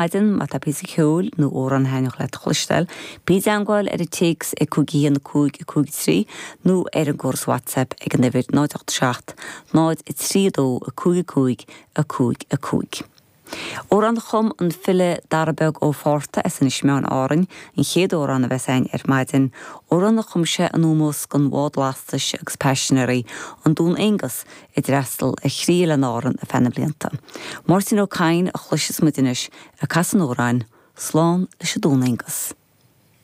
Maidin, má tá píosa ceoil nó amhrán a thaitneodh leat a chloisteáil, bí i dteangmháil ar an téacs ag 5 1 5 5 3 nó ar an gcóras WhatsApp ag an uimhir 0 8 7 0 3 2 5 5 5 5. Amhrán a chum an file Dara Beag Ó Fátharta as Inis Meáin, Árainn, an chéad amhrán a bheas againn ar maidin, amhrán a chum sé in ómós don bhád lastais agus paisinéirí, an Dún Aonghus, a d'fhreastal ar thrí oileán Árann ar feadh na mblianta. Máirtín Ó Cadhain a chloisfeas muid anois ag casadh an amhráin, Slán leis an Dún Aonghus.